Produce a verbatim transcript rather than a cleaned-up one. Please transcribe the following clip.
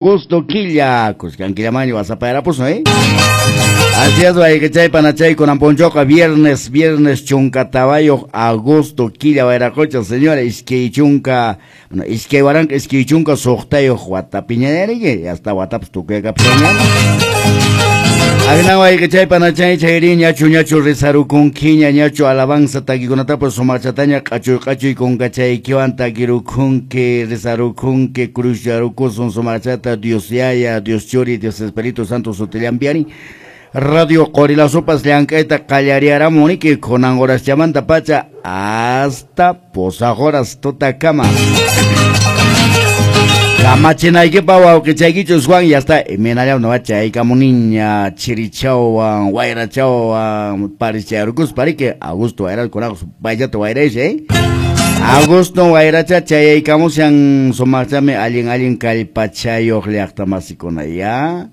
Gusto killa, kuskan killamaño wasapayarapusun, eh? Así es, wayqichay panachay kunan punchawqa viernes, viernes chunka tawayuq agosto killa wayraqucha, señora, iskay chunka, bueno, iskay waranqa iskay chunka suqtayuq watapiña hasta watapas tukuykapushanña. Agna wayqichay panachay chayri ñachu ñachu rizarukunkiña ñachu alabanza takikunatapas sumachataña q'achuy q'achuy kunkachaykiwan takirukunki rizarukunki cruzyarukusun sumachata Dios Yaya, Dios Churi, Dios Espíritu Santo sutillampiari. Radio Qorilasopas llank'ayta qallariaramuniki kunan horaschamanta pacha hasta posaq horas tutakama. Kamachinaykipa wawqichaykichus Juan ya está imaynallam no chaykamuniña chirichawan wayrachawan paricharukuspa riki Augusto wayra kunaq payllata wayraysh eh Augusto wayracha chayaykamushan sumaqchami allin allin kallpachayuq llaqtamasikuna ya.